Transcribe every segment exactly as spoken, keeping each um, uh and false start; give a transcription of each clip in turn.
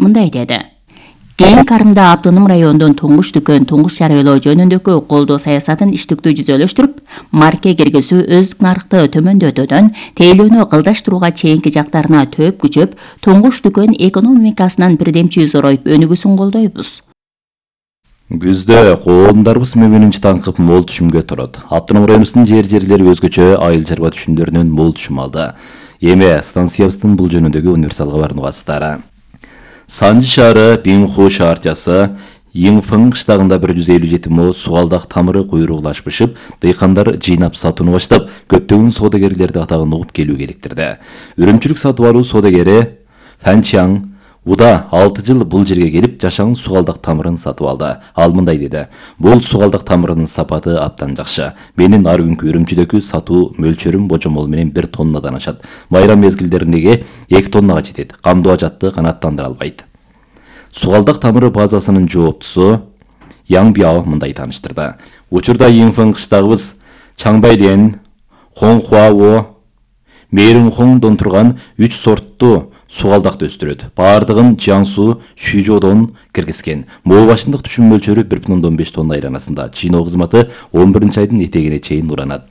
мындай деди. Кийин Карымда автоном райондун туңгуч дүкөн туңгуч жарыялоо жөнүндөгү колдоо саясатын иштиктүү жүзөлөштүрүп, марке киргизүү өздүк нарыкты төмөндөтүүдөн тейлөөнү кылдаштырууга чейинки жактарына төп күчөп, туңгуч дүкөн экономикасынан бирдемчи зороюп өнүгүүсүн колдойбуз. Күздө коомдарыбыз мөмүнүнчү таңкып мол түшүмгө турат. Автоном районубуздун жер жерлери өзгөчө айыл чарба түшүмдөрүнөн мол түшүм алды. Эми станциябыздын бул жөнүндөгү универсал кабарын угасыздар. Санжы шаары Бинху шаарчасы Йиңфың кыштагында бир жүз элүү жети мо сугалдак тамыры куйругулашпышып, дыйкандар жыйнап сатууну баштап, көптөгөн соодагерлерди атагын угуп келүүгө электирди. Үрүмчүлүк сатып алуу соодагери Фанчаң Уда алты жыл бул жерге келип, жашаң сугалдак тамырын сатып алды. Ал мындай деди: "Бул сугалдак тамырынын сапаты абдан жакшы. Менин ар күнкү үрүмчүдөгү сатуу мөлчөрүм божомол менен бир тоннадан ашат. Майрам мезгилдеринеги эки тоннага жетет. Камдоо ажатты канааттандыра албайт." Сугалдак тамыры базасынын жооптусу Яң Бяо мындай тааныштырды. Учурда Йиңфың кыштагыбыз Чаңбайлен, Хоңхуао, Мээринхоңдон турган үч сорттуу сугалдакты өстүрөт. Бардыгын Жиаңсу, Шүйжодон киргизген. Моо башындык түшүм мөлчөрү бир бүтүн ондон беш тонна айланасында. Жыйноо кызматы он биринчи айдын этегине чейин уранат.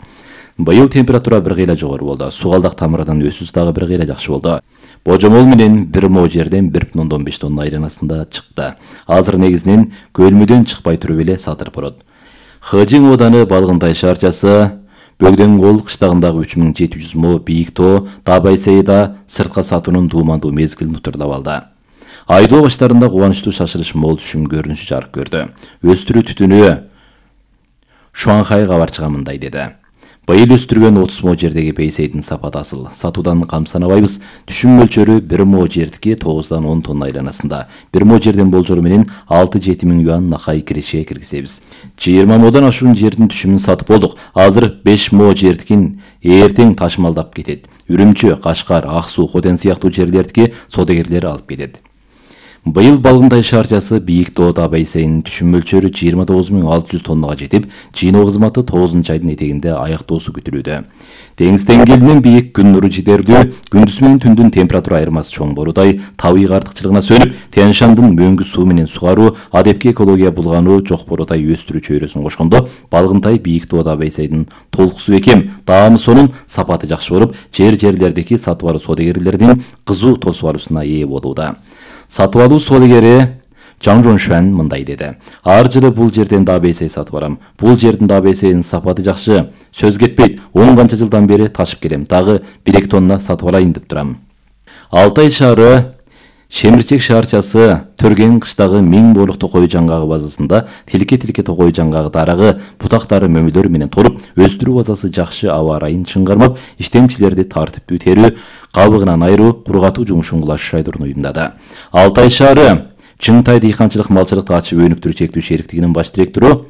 Быйыл температура бир кыйла жогору болду. Сугалдак тамырынын өсүүсү дагы бир кыйла жакшы болду. Божомол менен бир мо жерден бир бүтүн ондон беш тонна айланасында чыкты. Азыр негизинен көлмөдөн чыкпай туруп эле сатылып турат. Хыжың ооданы Балгынтай шаарчасы Бөгдөн кол кыштагындагы үч миң жети жүз мо бийик тоо Табайсайда сыртка сатуунун дуумандуу мезгилин утурдап алды. Айдоо баштарында кубанычтуу шашылыш мол түшүм көрүнүшү жарык көрдү. Өстүрүү түтүнү Шуанхай кабарчыга мындай деди: "Быйыл өстүргөн отуз мо жердеги пейсейдин сапаты асыл. Сатуудан камсанабайбыз. Түшүм мөлчөрү бир мо жердики тогуздан он тонна айланасында. бир мо жерден болжору менен алты жети миң юан накай киреше киргизебиз. жыйырма модон ашуун жердин түшүмүн сатып болдук. Азыр беш мо жердикин эртең ташмалдап кетет. Үрүмчү, Кашкар, Ак Суу, Хотен сыяктуу жерлердики соодагерлер алып кетет." Быйыл Балгынтай шаарчасы Бийик тоо Табайсайынын түшүм мөлчөрү жыйырма тогуз миң алты жүз тоннага жетип, жыйноо кызматы тогузунчу айдын этегинде аяктоосу күтүлүүдө. Деңиз деңгээлинен бийик, күн нуру жетерлүү, күндүз менен түндүн температура айырмасы чоң боруудай, табигый артыкчылыгына сөнүп, Тянь Шандын мөңгү суу менен сугаруу, адепки экология булгануу жок боруудай өстүрүү чөйрөсүн кошкондо, Балгынтай Бийик тоо Табайсайдын толкусу бекем, даамы сонун, сапаты жакшы болуп, жер жерлердики сатып алуу соодагерлердин кызуу тосуп алуусуна ээ болууда. Сатып алуу соодагери Жаң Жоншуан мындай деди: "Ар жылы бул жерден да бейсей сатып барам. Бул жердин да бейсейинин сапаты жакшы. Сөз кетпейт. он канча жылдан бери ташып келем. Дагы бир эки тонна сатып алайын деп турам." Алтай шаары Шемирчек шаарчасы Төрген кыштагы миң боолук токой жаңгагы базасында тилке-тилке токой жаңгагы дарагы, бутактары мөмүлөр менен толуп, өстүрүү базасы жакшы аба ырайын чыңгармап, иштемчилерди тартиптүү терүү, кабыгынан айыруу, кургатуу жумушун кылаш шайдырууну уюмдады. Алтай шаары Чыңтай дыйканчылык малчылыкты ачып өнүктүрүү чектүү шериктигинин баш директору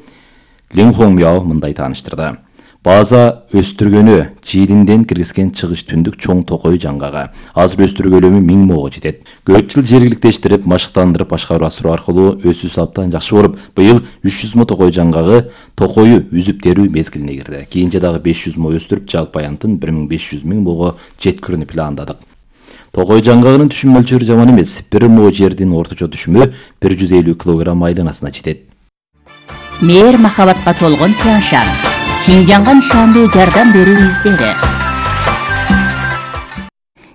Лин Хоңмяо мындай тааныштырды: "База өстүргөнү жиилинден киргизген чыгыш түндүк чоң токой жаңгага. Азыр өстүрүү көлөмү миң мого жетет. Көп жыл жергиликтештирип, машыктандырып башкаруу асыруу аркылуу өсүүсү абдан жакшы болуп, быйыл үч жүз мо токой жаңгагы токою үзүп терүү мезгилине кирди. Кийинче дагы беш жүз мо өстүрүп, жалпы аянтын бир миң беш жүз миң мого жеткирүүнү пландадык." Токой жаңгагынын түшүм мөлчөрү жаман эмес. бир мо жердин орточо түшүмү бир жүз элүү килограмм айланасына жетет. Мээр махабатка толгон Тянь Шань. Шинжаңга нишандуу жардам берүү издери.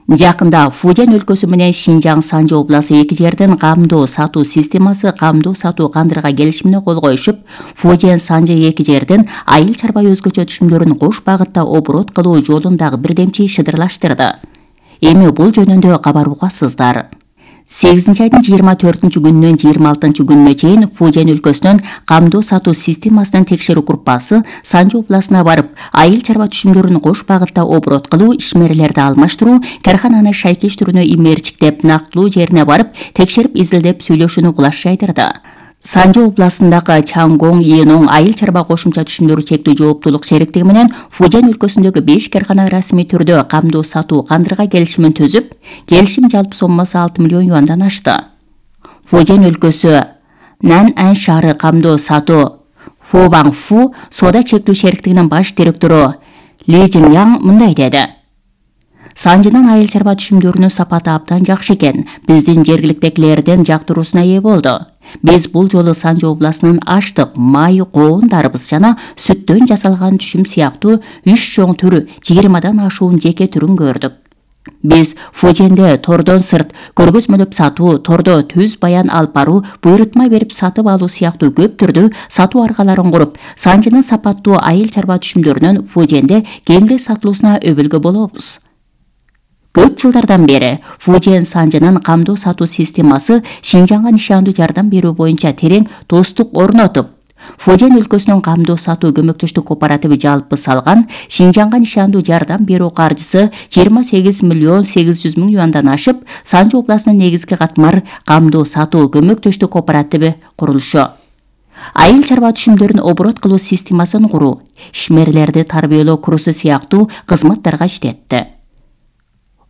Жакында Фужен өлкөсү менен Шинжаң Санжы обласы эки жердин камдоо сатуу системасы камдоо сатуу кандырга келишимине кол коюшуп, Фужен Санжы эки жердин айыл чарба өзгөчө түшүмдөрүн кош багытта оборот кылуу жолундагы бирдемчи шыдырлаштырды. Эми бул жөнүндө кабар угасыздар. сегизинчи айдын жыйырма төртүнчү күнүнөн жыйырма алтынчы күнүнө чейин Фужен өлкөсүнүн камдоо сатуу системасынын текшерүү группасы Санжы областына барып, айыл чарба түшүмдөрүн кош багытта оборот кылуу, ишмерлерди алмаштыруу, кархананы шайкештирүүнү имээрчиктеп, нактылуу жерине барып, текшерип изилдеп сүйлөшүүнү кылаш жайдырды. Санжы областындагы Чаңгоң Ийноң айыл чарба кошумча түшүмдөрү чектүү жооптуулук шериктиги менен Фужен өлкөсүндөгү беш кархана расмий түрдө камдоо сатуу кандырга келишимин түзүп, келишим жалпы соммасы алты миллион юандан ашты. Фужен өлкөсү Наньань шаары камдоо сатуу Фобаң Фу соода чектүү шериктигинин баш директору Ли Жиньяң мындай деди: Санжынын айыл чарба түшүмдөрүнүн сапаты абдан жакшы экен. Биздин жергиликтегилердин жактыруусуна ээ болду. Биз бул жолу Санжы областынын аштык, май, коондарыбыз жана сүттөн жасалган түшүм сыяктуу үч чоң түрү жыйырмадан ашуун жеке түрүн көрдүк. Биз Фуженде тордон сырт көргөзмөлөп сатуу, тордо түз баян алып баруу, буйрутма берип сатып алуу сыяктуу көп түрдүү сатуу аркаларын куруп, Санжынын сапаттуу айыл чарба түшүмдөрүнүн Фуженде кеңири сатылуусуна өбөлгө болобуз. Көп жылдардан бери Фужен Санжынын камдоо сатуу системасы Шинжаңга нишандуу жардам берүү боюнча терең достук орнотуп, Фужен өлкөсүнүн камдоо сатуу көмөктөштүк кооперативи жалпы салган Шинжаңга нишандуу жардам берүү каржысы жыйырма сегиз миллион сегиз жүз миң юандан ашып, Санжы областынын негизги катмар камдоо сатуу көмөктөштүк кооперативи курулушу. Айыл чарба түшүмдөрүн оборот кылуу системасын куруу, ишмерлерди тарбиялоо курсу сыяктуу кызматтарга иштетти.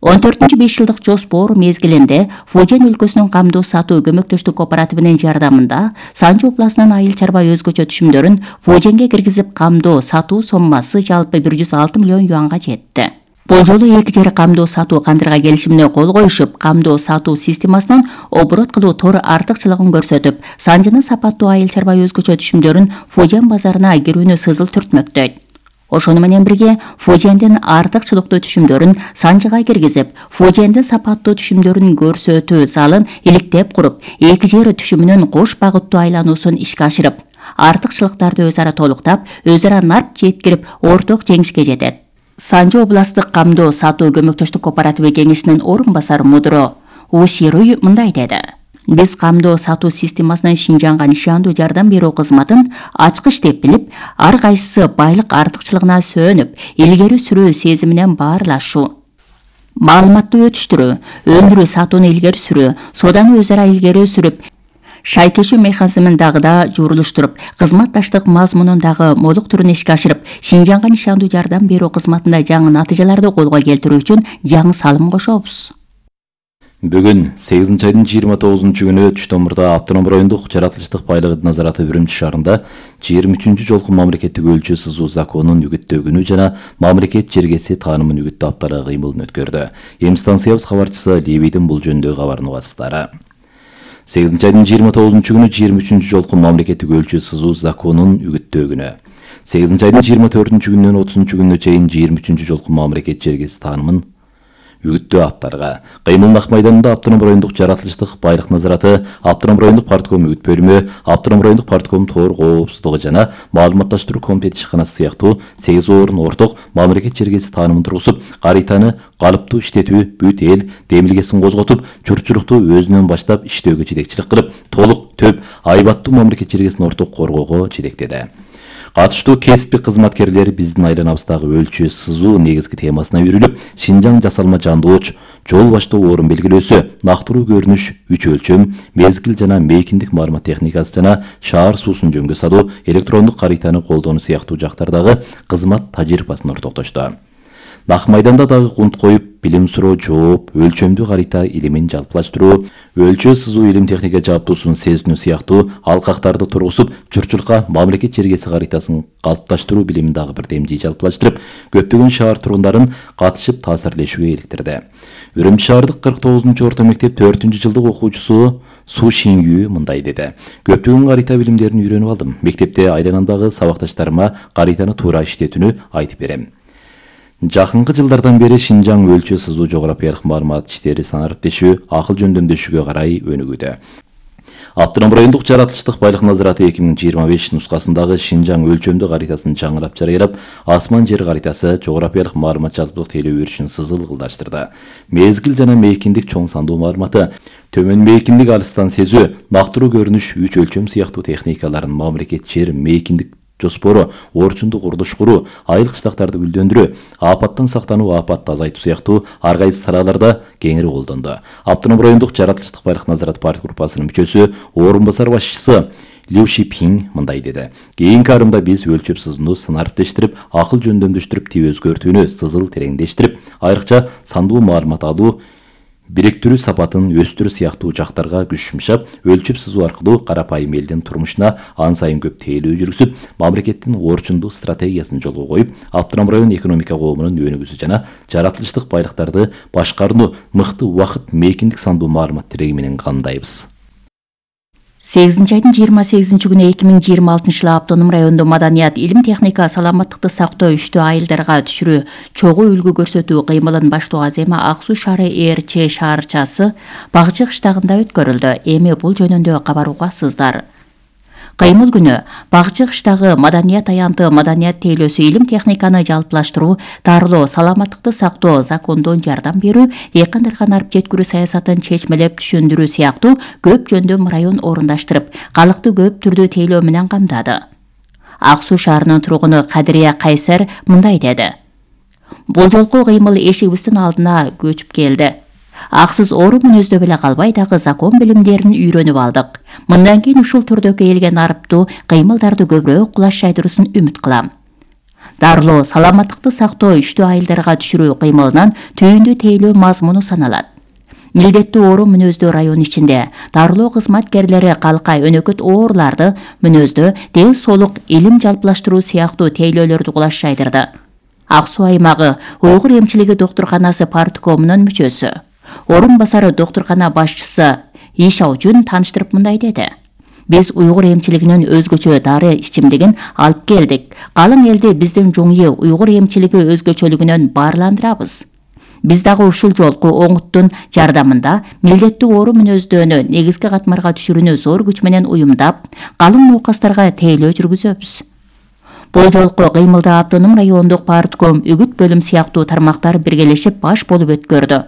он төртүнчү беш жылдык жоспор мезгилинде Фужен өлкөсүнүн камдоо сатуу көмөктөштүк кооперативинин жардамында Санжы областынын айыл чарба өзгөчө түшүмдөрүн Фуженге киргизип, камдоо сатуу соммасы жалпы бир жүз алты миллион юанга жетти. Бул жолу эки жер камдоо сатуу кандырга келишимине кол коюшуп, камдоо сатуу системасынан оборот кылуу тор артыкчылыгын көрсөтүп, Санжынын сапаттуу айыл чарба өзгөчө түшүмдөрүн Фужен базарына кирүүнү сызыл түртмөктөйт. Ошону менен бирге Фужендин артыкчылыктуу түшүмдөрүн Санжыга киргизип, Фужендин сапаттуу түшүмдөрүн көрсөтүү залын иликтеп куруп, эки жер түшүмүнүн кош багыттуу айлануусун ишке ашырып, артыкчылыктарды өз ара толуктап, өз ара нарт жеткирип, орток жеңишке жетет. Санжы областык камдоо сатуу көмөктөштүк кооперативи кеңешинин орун басар мудро Ушируй мындай деди: Биз камдоо сатуу системасынын Шинжаңга нишандуу жардам берүү кызматын ачкыч деп билип, ар кайсысы байлык артыкчылыгына сөөнүп, илгери сүрүү сезиминен баарлашуу, маалыматтуу өтүштүрүү, өндүрүү сатууну илгери сүрүү, сооданы өз ара илгери сүрүп, шайкешүү механизмин дагы да журулуштуруп, кызматташтык мазмунун дагы молуктуруун ишке ашырып, Шинжаңга нишандуу жардам берүү кызматында жаңы натыйжаларды колго келтирүү үчүн жаңы салым кошобуз. Бүгүн сегизинчи айдын жыйырма тогузунчу күнү Түштөмурда автоном райондук жаратылыштык байлык назараты Үрүмчү шаарында жыйырма үчүнчү жолку мамлекеттик өлчү сызуу законунун үгүттөгүнү жана мамлекет жергеси таанымын үгүттөө аптары кыймылын өткөрдү. Эми станциябыз кабарчысы Лебийдин бул жөнүндөгү кабарын угасыздар. сегизинчи айдын жыйырма тогузунчу күнү жыйырма үчүнчү жолку мамлекеттик өлчү сызуу законунун үгүттөгүнү. сегизинчи айдын жыйырма төртүнчү күнүнөн отузунчу күнүнө чейин жыйырма үчүнчү жолку мамлекет жергеси таанымын үгүттөө аптарга Кыймыл Ак майданында автоном райондук жаратылыштык байлык назараты, автоном райондук партком үгүт бөлүмү, автоном райондук партком тоор коопсуздугу жана маалыматташтыруу комитети ишканасы сыяктуу сегиз орун орток мамлекет жергеси таанымын тургузуп, каританы калыптуу иштетүү, бүт эл демилгесин козготуп, журтчулукту өзүнөн баштап иштөөгө жетекчилик кылып, толук, төп, айбаттуу мамлекет жергесин орток коргоого жетектеди. Катыштуу кесиптик кызматкерлер биздин айланабыздагы өлчү сызуу негизги темасына үйрүлүп, Шинжаң жасалма жандооч, жол баштоо орун белгилөөсү, нактыруу көрүнүш, үч өлчөм, мезгил жана мейкиндик маалымат техникасы жана шаар суусун жөнгө салуу, электрондук каританы колдонуу сыяктуу жактардагы кызмат тажрыйбасын ортоктошту. Нак майданда дагы кунт коюп, билим суроо жооп, өлчөмдүү карита илимин жалпылаштыруу, өлчө сызуу илим техника жааптуусун сезинүү сыяктуу алкактарды тургузуп, журтчулукка мамлекет жергеси каритасын калыпташтыруу билимин дагы бир демжий жалпылаштырып, көптөгөн шаар тургундарын катышып таасирлешүүгө иликтирди. Үрүмчү шаардык кырк тогузунчу орто мектеп төртүнчү жылдык окуучусу Су Шингүү мындай деди: Көптөгөн карита билимдерин үйрөнүп алдым. Мектепте айланамдагы сабакташтарыма каританы туура иштетүүнү айтып берем. Жакынкы жылдардан бери Шинжаң өлчө сызуу жографиялык маалымат иштери санариптешүү, акыл жөндөмдөшүүгө карай өнүгүүдө. Автоном райондук жаратылыштык байлык назараты эки миң жыйырма беш нускасындагы Шинжаң өлчөмдүү каритасын жаңылап жарыялап, асман жер каритасы жографиялык маалымат жалпылык тейлөө өрүшүн сызыл ылдыштырды. Мезгил жана мейкиндик чоң сандуу маалыматы, төмөн мейкиндик алыстан сезүү, нактыруу көрүнүш, үч өлчөм сыяктуу техникаларын мамлекет жер мейкиндик жоспору, орчундук курулуш куруу, айыл кыштактарды гүлдөндүрүү, апаттан сактануу, апатты азайтуу сыяктуу ар кайсы салаларда кеңири колдонду. Автоном райондук жаратылыштык байлык назарат партия группасынын мүчөсү, орун басар башчысы Лю Шипин мындай деди: Кийинки арымда биз өлчөп сызууну санариптештирип, акыл жөндөмдөштүрүп, тип өзгөртүүнү сызыл тереңдештирип, айрыкча сандуу маалымат алуу, бириктирүү сапатын өстүрүү сыяктуу жактарга күч жумшап, өлчөп сызуу аркылуу карапайым элдин турмушуна ан сайын көп тейлөө жүргүзүп, мамлекеттин орчундуу стратегиясын жолго коюп, Автоном район экономика коомунун өнүгүүсү жана жаратылыштык байлыктарды башкарууну мыкты убакыт мейкиндик сандуу маалымат тиреги менен кандайбыз. сегизинчи айдын жыйырма сегизинчи күнү эки миң жыйырма алтынчы жылы Автоном райондо маданият, илим, техника, саламаттыкты сактоо үчтүү айылдарга түшүрүү, чогуу үлгү көрсөтүү кыймылын баштоо азема Ак Суу шаары ээрчи шаарчасы Багчы кыштагында өткөрүлдү. Эми бул жөнүндө кабар угасыздар. Кыймыл күнү Багчы кыштагы маданият аянты, маданият тейлөөсү, илим техниканы жалпылаштыруу, дарылоо, саламаттыкты сактоо, закондон жардам берүү, эйкандарга нарып жеткирүү саясатын чечмелеп түшүндүрүү сыяктуу көп жөндөм район орундаштырып, калкты көп түрдүү тейлөө менен камдады. Ак Суу шаарынын тургуну Кадырия Кайсар мындай деди. Бул жолку кыймыл эшигибиздин алдына көчүп келди. Аксыз оору мүнөздө беле калбай дагы закон билимдерин үйрөнүп алдык. Мындан кийин ушул түрдөгү элге нарыптуу кыймылдарды көбүрөөк кулаш жайдыруусын үмүт кылам. Дарылоо, саламаттыкты сактоо үчтүү айылдарга түшүрүү кыймылынан түйүндүү тейлөө мазмуну саналат. Милдеттүү оору мүнөздүү район ичинде дарылоо кызматкерлери калка, өнөкөт ооруларды мүнөздө ден соолук, илим жалпылаштыруу сыяктуу тейлөөлөрдү кулаш жайдырды. Ак Суу аймагы уйгур эмчилиги доктурканасы парткомунун мүчөсү, орун басары доктуркана башчысы Ишаужун тааныштырып мындай деди. Биз уйгур эмчилигинин өзгөчө дары ичимдигин алып келдик. Калың элди биздин жуңйы уйгур эмчилиги өзгөчөлүгүнөн баарландырабыз. Биз дагы ушул жолку оңуттун жардамында милдеттүү оору мүнөздөнү негизги катмарга түшүрүүнү зор күч менен уюмдап, калың нуукастарга тейлөө жүргүзөбүз. Бул жолку кыймылда Автоном райондук партком, үгүт бөлүм сыяктуу тармактар биргелешип баш болуп өткөрдү.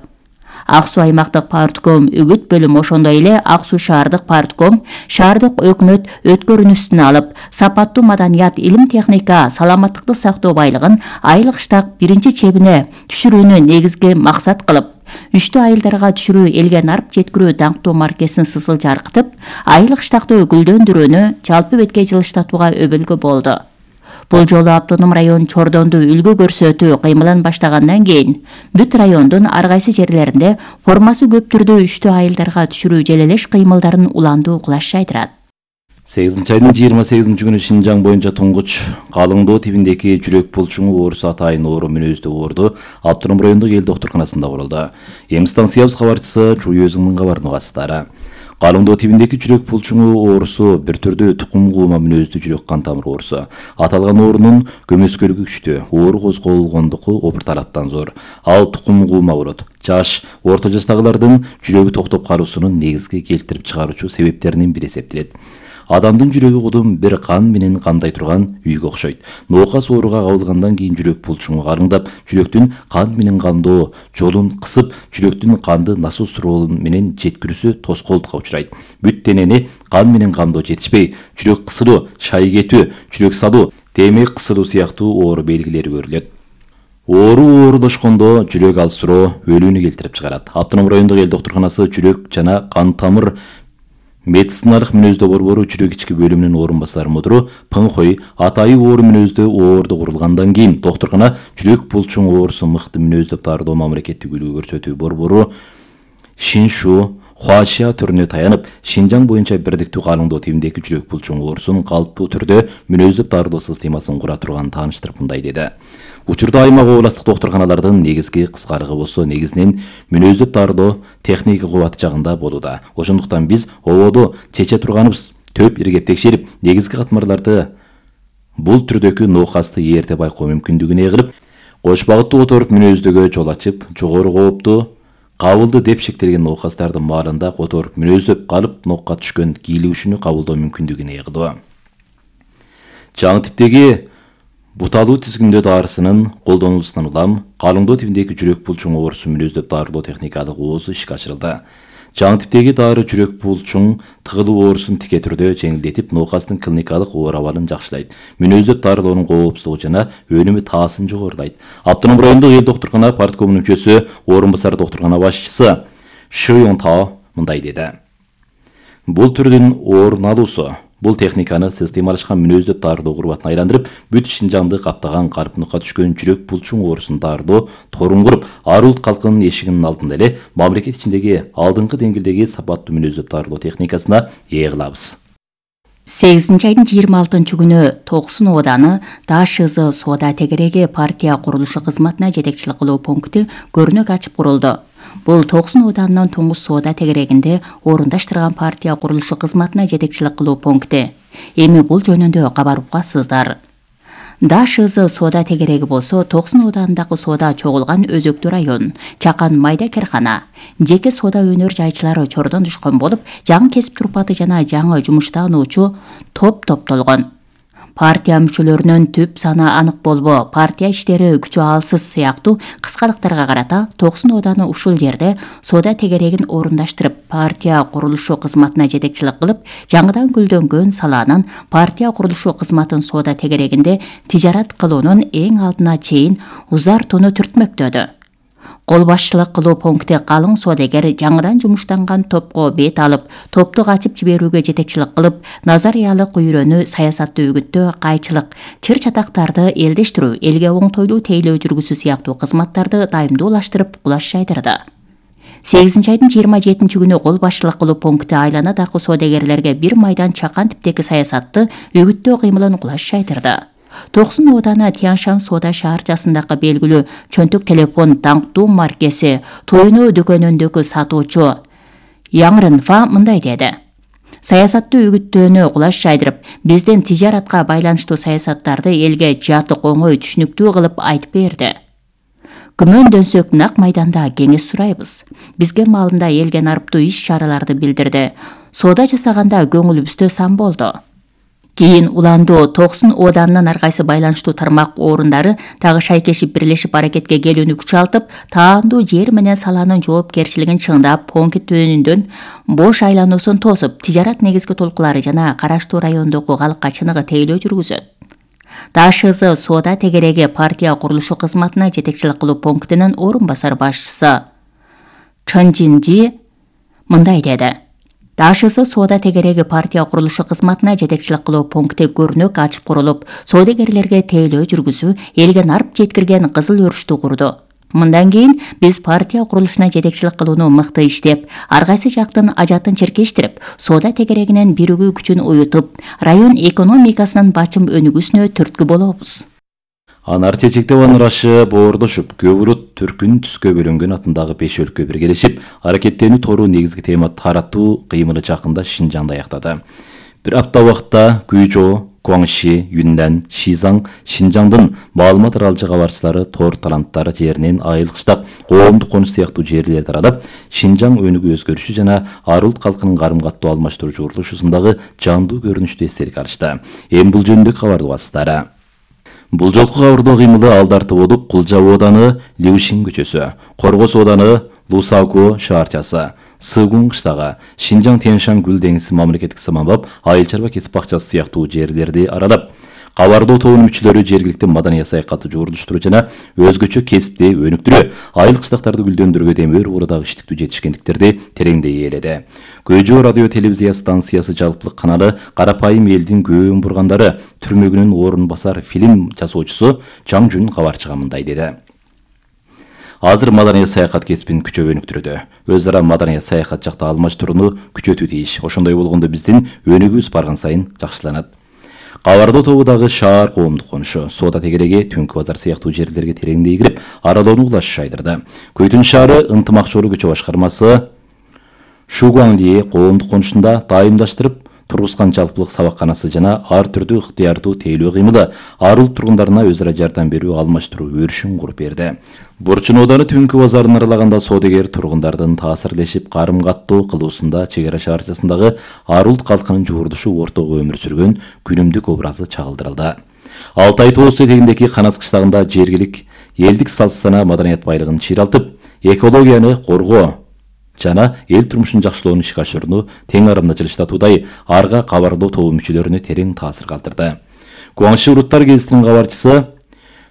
Ак Суу аймактык партком, үгүт бөлүм, ошондой эле Ак Суу шаардык партком шаардык өкмөт өткөрүүнү үстүнө алып, сапаттуу маданият, илим, техника, саламаттыкты сактоо байлыгын айыл кыштак биринчи чебине түшүрүүнү негизги максат кылып, үчтүү айылдарга түшүрүү, элге нарып жеткирүү даңктуу маркесин сысыл жаркытып, айыл кыштакты гүлдөндүрүүнү жалпы бетке жылыштатууга өбөлгө болду. Бул жолу Автоном район Чордонду үлгү көрсөтүү кыймылын баштагандан кийин бүт райондун ар кайсы жерлеринде формасы көп түрдүү үчтүү айылдарга түшүрүү желелеш кыймылдарын уландуу кулаш жайдырат. сегизинчи айдын жыйырма сегизинчи күнү Шинжаң боюнча туңгуч Калыңдоо тибиндеги жүрөк булчуңу оорусу атайын оору мүнөздүү оорду Автоном райондук эл доктурканасында курулду. Эми станциябыз кабарчысы Чүй өзүнүн кабарын угасыздар. Калыңдоо тибиндеги жүрөк булчуңу оорусу бир түрдүү тукум куума мүнөздүү жүрөк кан тамыр оорусу. Аталган оорунун көмөскөлүгү күчтүү, оору козголгондугу опыр тараптан зор. Ал тукум куума болот. Жаш, орто жаштагылардын жүрөгү токтоп калуусунун негизги келтирип чыгаруучу себептеринин бири эсептелет. Адамдын жүрөгү кудум бир кан менен кандай турган үйгө окшойт. Ноокас ооруга кабылгандан кийин жүрөк булчуңу карыңдап, жүрөктүн кан менен камдоо жолун кысып, жүрөктүн канды насос туруолу менен жеткирүүсү тоскоолдукка учурайт. Бүт денени кан менен камдоо жетишпей, жүрөк кысылуу, шай кетүү, жүрөк салуу, демек кысылуу сыяктуу оору белгилери көрүлөт. Оору оорулашкондо жүрөк алсыроо өлүүнү келтирип чыгарат. Автоном райондук эл доктурканасы жүрөк жана кан тамыр медициналык мүнөздөө борбору жүрөк ички бөлүмүнүн орун басары мудуру Пыңхой атайы оору мүнөздөө оорду курулгандан кийин доктуркана жүрөк булчуң оорусу мыкты мүнөздөп дарылоо мамлекеттик үлгү көрсөтүү борбору Шиншу Хуашия түрүнө таянып, Шинжаң боюнча бирдиктүү Калыңдоо тибиндеги жүрөк булчуң оорусун калыптуу түрдө мүнөздөп дарылоо системасын кура турганын тааныштырып мындай деди. Учурда аймак областык доктурканалардын негизги кыскарыгы болсо негизинен мүнөздөп дарылоо техника кубаты жагында болууда. Ошондуктан биз ободо чече турганыбыз төп иргеп текшерип, негизги катмарларды бул түрдөгү ноокасты эрте байкоо мүмкүндүгүнө кылып, кош багыттуу которуп мүнөздөгө жол ачып, жогору кооптуу кабылды деп шектелген ноокастарды маалында которуп мүнөздөп калып, нокка түшкөн кийлигишүүнү кабылдоо мүмкүндүгүнө ыя. Жаңы типтеги буталуу тизгиндөө дарысынын колдонулуусунан улам Калыңдоо тибиндеги жүрөк булчуң оорусу мүнөздөп дарылоо техникалык оозу ишке ашырылды. Жаңы типтеги дары жүрөк булчуң тыгылуу оорусун тике түрдө жеңилдетип, ноокастын клиникалык оор абалын жакшылайт. Мүнөздөп дарылоонун коопсуздугу жана өнүмү таасын жогорулайт. Автоном райондук эл доктуркана парткомунун мүчөсү, орун басары доктуркана башчысы Шы Йонтао мындай деди. Бул түрдүн орун алуусу Бул техниканы системалашкан мүнөздөп даардоо курбатына айландырып, бүт Шинжаңды каптаган карпыныкка түшкөн жүрөк булчуң оорусун даардоо торун куруп, ар улут калкынын эшигинин алдында эле мамлекет ичиндеги алдыңкы деңгээлдеги сапаттуу мүнөздөп даардоо техникасына ээ кылабыз. сегизинчи айдын жыйырма алтынчы күнү Токсон ооданы ДАШЗ соода тегереги партия курулушу кызматына жетекчилик кылуу пункти көрүнөк ачып курулду. Бул Токсон ооданынын туңгуч соода тегерегинде орундаштырган партия курулушу кызматына жетекчилик кылуу пункти. Эми бул жөнүндө кабар уккансыздар. ДАШЗ соода тегереги болсо Токсон ооданындагы соода чогулган өзөктүү район, чакан майда керкана, жеке соода өнөр жайчылары чордон түшкөн болуп, жаңы кесип турпаты жана жаңы жумуштануучу топ топтолгон. Партия мүчөлөрүнүн түп саны анык болбо, партия иштери күчү алсыз сыяктуу кыскалыктарга карата Токсон ооданы ушул жерде соода тегерегин орундаштырып, партия курулушу кызматына жетекчилик кылып, жаңыдан гүлдөнгөн салаанын партия курулушу кызматын соода тегерегинде тижарат кылуунун эң алдына чейин узартууну түртмөктөдү. Кол башчылык кылуу пункти калың соодагер жаңыдан жумуштанган топко бет алып, топту качып жиберүүгө жетекчилик кылып, назариялык үйрөнүү, саясатты үгүттөө, кайчылык, чыр-чатактарды элдештирүү, элге оңтойлуу тейлөө жүргүзүү сыяктуу кызматтарды дайымдуулаштырып, кулаш жайдырды. сегизинчи айдын жыйырма жетинчи күнү кол башчылык кылуу пункти айланадагы соодагерлерге бир майдан чакан типтеги саясатты үгүттөө кыймылын кулаш жайдырды. Токсон ооданы Тяншан соода шаарчасындагы белгилүү чөнтөк телефон таңктуу маркеси Тойноо дүкөнүндөгү сатуучу Яңрынфа мындай деди. Саясатты үгүттөөнү кулаш жайдырып, биздин тижаратка байланыштуу саясаттарды элге жатык оңой түшүнүктүү кылып айтып берди. Күмөндөнсөк нак майданда кеңеш сурайбыз. Бизге маалында элге нарыптуу иш-чараларды билдирди. Соода жасаганда көңүлүбүздө сан болду. Кийин уландуу Токсон ооданынын ар кайсы байланыштуу тармак орундары дагы шайкешип бирлешип аракетке келүүнү күчалтып, таандуу жер менен салаанын жоопкерчилигин чыңдап, пункт өнүндөн бош айлануусун тосуп, тижарат негизги толкулары жана караштуу райондогу калкка чыныгы тейлөө жүргүзөт. ДАШЗ соода тегереги партия курулушу кызматына жетекчилик кылуу пунктинин орун басар башчысы Чынжинжи мындай деди. ДАШЗ соода тегереги партия курулушу кызматына жетекчилик кылуу пункти көрүнөк ачып курулуп, соодагерлерге тейлөө жүргүзүү, элге нарп жеткирген кызыл өрүштү курду. Мындан кийин биз партия курулушуна жетекчилик кылууну мыкты иштеп, ар кайсы жактын ажатын черкештирип, соода тегерегинин биригүү күчүн уютуп, район экономикасынын бачым өнүгүүсүнө түрткү болобуз. Анар чечектеп анырашы боордошуп, көбүрөт түркүн түскө бөлөнгөн атындагы беш өлкө биргелешип, аракеттенүү тору негизги тема таратуу кыймылы жакында Шинжаңда аяктады. Бир апта убакытта Гуйжоо, Гуаңши, Юньнан, Шизаң, Шинжаңдын маалымат аралчы кабарчылары тор таланттары жеринен айылкыштак, коомдук конуш сыяктуу жерлерди аралап, Шинжаң өнүгүү өзгөрүшү жана ар улут калкынын карым каттоо алмаштыруу курулушусундагы жандуу көрүнүштү эстелик алышты. Эми бул жөнүндө кабарды угасыздар. Бул жолку кабардоо кыймылы Алдарты болуп, Кулжа ооданы Лиушин көчөсү, Коргос ооданы Лусако шаарчасы, Сыгун кыштагы, Шинжаң Тяншан Гүл деңизи мамлекеттик саманбап, айыл чарба кесип бакчасы сыяктуу жерлерди аралап, кабардоо тобунун мүчөлөрү жергиликтүү маданий саякатты жуурдуштуруу жана өзгөчө кесипти өнүктүрүү, айыл кыштактарды гүлдөндүрүүгө демир уурдагы иштиктүү жетишкендиктерди тереңдей ээледи. Гөйжөө радио телевизия станциясы жалпылык каналы Карапайым элдин көөн бургандары түрмөгүнүн орун басар фильм жасоочусу Чаңжун кабарчыга мындай деди. Азыр маданий саякат кесипин күчөп өнүктүрүүдө. Өз ара маданий саякат жакта алмаштырууну күчөтүү тийиш. Ошондой болгондо биздин өнүгүүбүз барган сайын жакшыланат. Кабардоо тобудагы шаар коомдук конушу, соода тегереги, Түнкү базар сыяктуу жерлерге тереңдей кирип, аралоону кулаш жайдырды. Көйтүн шаары ынтымакчылык көчө башкармасы Шугуаңди коомдук конушунда дайымдаштырып тургузган жалпылык сабакканасы жана ар түрдүү ыктыярдуу тейлөө кыймылы ар улут тургундарына өз ара жардам берүү, алмаштыруу өрүшүн куруп берди. Бурчун ооданы Түнкү базарын аралаганда соодагер тургундардын таасирлешип карым каттоо кылуусунда чек ара шаарчасындагы ар улут калкынын жуурдушу ортого өмүр сүргөн күнүмдүк образы чагылдырылды. Алтай тоосу этегиндеги Канас кыштагында жергилик элдик салт-сана маданият байлыгын чыйралтып, экологияны коргоо жана эл турмушун жакшылоону ишке ашырууну тең арамда жылыштатуудай арга кабардоо тобу мүчөлөрүнө терең таасир калтырды. Гуаңши уруттар гезитинин кабарчысы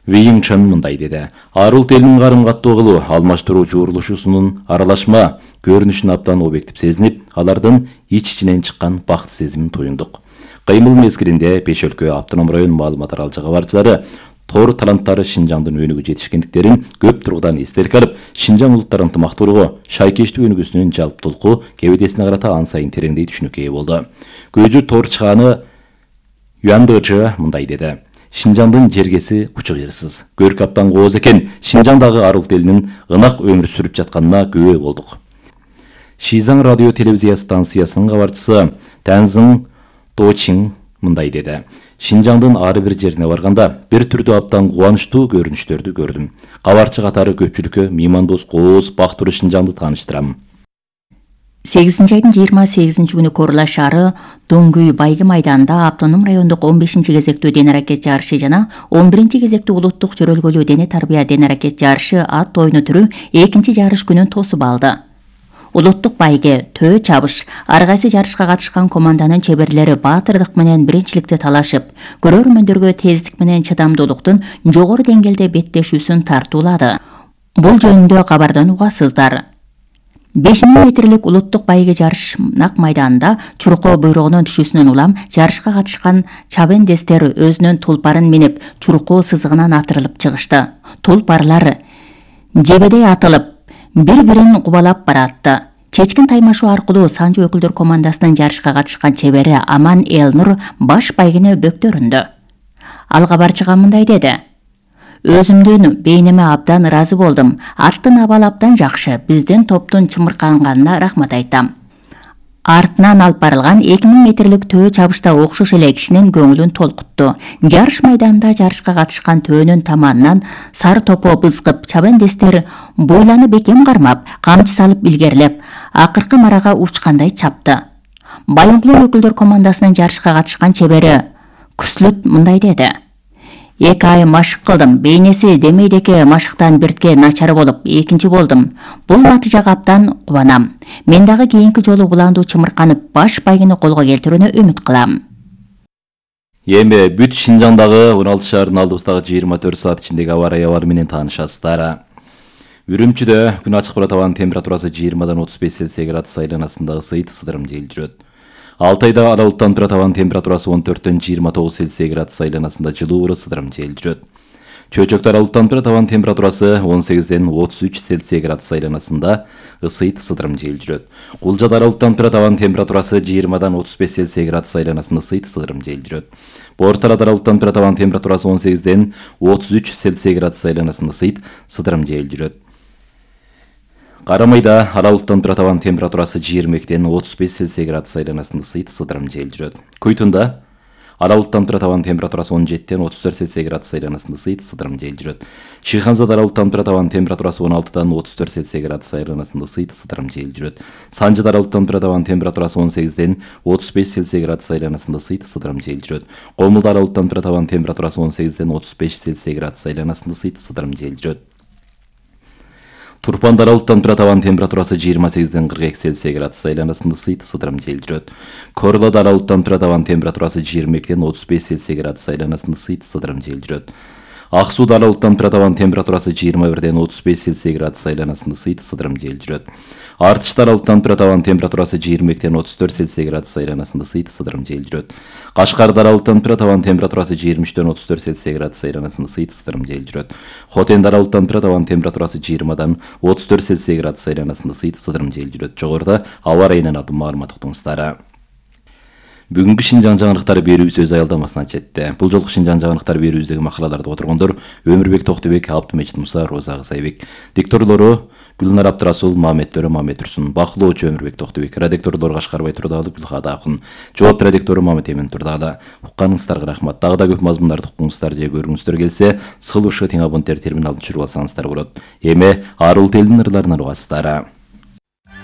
Вейин Чан мындай деди. Арылт элинин карым каттуу кылуу, алмаштыруу жуурулушуусунун аралашма көрүнүшүн абдан объектив сезинип, алардын ич-ичинен чыккан бакыт сезимин туюндук. Кыймыл мезгилинде Беш өлкө автоном район маалымат аралыгы кабарчылары тор таланттары Шинжаңдын өнүгүү жетишкендиктерин көп тургудан эстеликке алып, Шинжаң улуттар ынтымактуулугу, шайкештүү өнүгүүсүнүн жалптуулугу кебедесине карата ан сайын тереңдей түшүнүккө ээ болду. Көжү тор чыгааны Юандычы мындай деди. Шинжаңдын жергеси учук жерсиз. Көрк абдан кооз экен. Шинжаңдагы арылт элинин ынак өмүр сүрүп жатканына күбө болдук. Шизаң радио телевизия станциясынын кабарчысы Тянзың Точин мындай деди. Шинжаңдын ар бир жерине барганда бир түрдүү абдан кубанычтуу көрүнүштөрдү көрдүм. Кабарчы катары көпчүлүккө меймандос кооз бактыруу Шинжаңды тааныштырам. сегизинчи айдын жыйырма сегизинчи күнү Корла шаары Дөңгүй Байгы майданында автоном райондук он бешинчи кезектүү дене аракет жарышы жана он биринчи кезектүү улуттук жөрөлгөлүү дене тарбия дене аракет жарышы ат ойну түрү экинчи жарыш күнүн тосуп алды. Улуттук байге, төө чабыш, ар кайсы жарышка катышкан команданын чеберлери баатырдык менен биринчиликти талашып, көрөрмөндөргө тездик менен чыдамдуулуктун жогору деңгээлде беттешүүсүн тартуулады. Бул жөнүндө кабардан угасыздар. беш миң метрлик улуттук байге жарыш Нак майданында Чуркоо буйругунун түшүүсүнөн улам жарышка катышкан чабендестер өзүнүн тулпарын минип, Чуркоо сызыгынан атырылып чыгышты. Тулпарлар жебедей атылып, бири-бирин кубалап баратты. Чечкин таймашуу аркылуу Санжы өкүлдөр командасынын жарышка катышкан чебери Аман Элнур баш байгене бөктөрүндү. Ал кабарчыга мындай деди. Өзүмдүн бейниме абдан ыраазы болдум. Аттын абалы абдан жакшы. Биздин топтун чымырканганына рахмат айтам. Артынан алып барылган эки миң метрлик төө чабышта окшош эле кишинин көңүлүн толкутту. Жарыш майданында жарышка катышкан төөнүн таманынан сары топо бызгып, чабендестер бойланып бекем кармап, камчы салып илгерлеп, акыркы марага учкандай чапты. Байыңкулуу өкүлдөр командасынын жарышка катышкан чебери Күслүт мындай деди. Эки ай машык кылдым. Бейнеси демейдеки машыктан биртке начар болуп, экинчи болдум. Бул натыйжага абдан кубанам. Мен дагы кийинки жолу улаандуу чымырканып, баш байгени колго келтирүүнү үмүт кылам. Эми бүт Шинжаңдагы он алты шаардын алдыбыздагы жыйырма төрт саат ичиндеги аба ырайы менен таанышасыздар. Үрүмчүдө күн ачык болот, абанын температурасы жыйырмадан отуз беш Цельсий градус айланасындагы ысыйт сыдырым жел жүрөт. Алтайда аралыктан турат, абанын температурасы он төрттөн жыйырма тогуз Цельсий градус айланасында жылуу сыдырым жел жүрөт. Чөчөктө аралыктан турат, абанын температурасы он сегизден отуз үч Цельсий градус айланасында ысыйт сыдырым жел жүрөт. Кулжада аралыктан турат, абанын температурасы жыйырмадан отуз беш Цельсий градус айланасында ысыйт сыдырым жел жүрөт. Борталада аралыктан турат, абанын температурасы он сегизден отуз үч Цельсий градус айланасында ысыйт сыдырым жел жүрөт. Карамайда аралыктан турат, абанын температурасы жыйырма экиден отуз беш Цельсий градус айланасында ысыйт сыдырым жел жүрөт. Куйтунда аралыктан турат, абанын температурасы он жетиден отуз төрт Цельсий градус айланасында ысыйт сыдырым жел жүрөт. Шыйханзада аралыктан турат, абанын температурасы он алтыдан отуз төрт Цельсий градус айланасында ысыйт сыдырым жел жүрөт. Санжыда аралыктан турат, абанын температурасы он сегизден отуз беш Цельсий градус айланасында ысыйт сыдырым жел жүрөт. Комулда аралыктан турат, абанын температурасы он сегизден отуз беш Цельсий градус айланасында ысыйт сыдырым жел жүрөт. Турпанда аралыктан турат, абанын температурасы жыйырма сегизден кырк эки Цельсий градус айланасында ысыйт сыдырым жел жүрөт. Корлада аралыктан турат, абанын температурасы жыйырма экиден отуз беш Цельсий градус айланасында ысыйт сыдырым жел жүрөт. Ак сууда аралыктан турат, абанын температурасы жыйырма бирден отуз беш Цельсий градус айланасында ысыйт сыдырым жел жүрөт. Артышта аралыктан турат, абанын температурасы жыйырма экиден отуз төрт Цельсий градус айланасында ысыйт сыдырым жел жүрөт. Кашкарда аралыктан турат, абанын температурасы жыйырма үчтөн отуз төрт Цельсий градус айланасында ысыйт сыдырым жел жүрөт. Хотенде аралыктан турат, абанын температурасы жыйырмадан отуз төрт Цельсий градус айланасында ысыйт сыдырым жел жүрөт. Жогоруда аба ырайынан алдын маалымат уктуңуздар. Бүгүнкү Шинжаң жаңырыктары берүүбүз өз аялдамасына жетти. Бул жолку Шинжаң жаңырыктары берүүбүздөгү макалаларды отургондор Өмүрбек Токтубек, Абдымечит Муса, Роза Кызайбек. Дикторлору Гүлнар Абдрасул, Мамет Төрө, Мамет Турсун. Бакылоочу Өмүрбек Токтубек. Редакторлор Кашкарбай Турдагалы, Гүлхада Акын. Жоопту редактору Мамет Эмин Турдагалы. Укканыңыздарга рахмат. Дагы да көп мазмундарды укуңуздар же көрүңүздөр келсе, сыл ушу тең абоненттер терминалын түшүрүп алсаңыздар болот. Эми арылт элдин ырларынан угасыздар.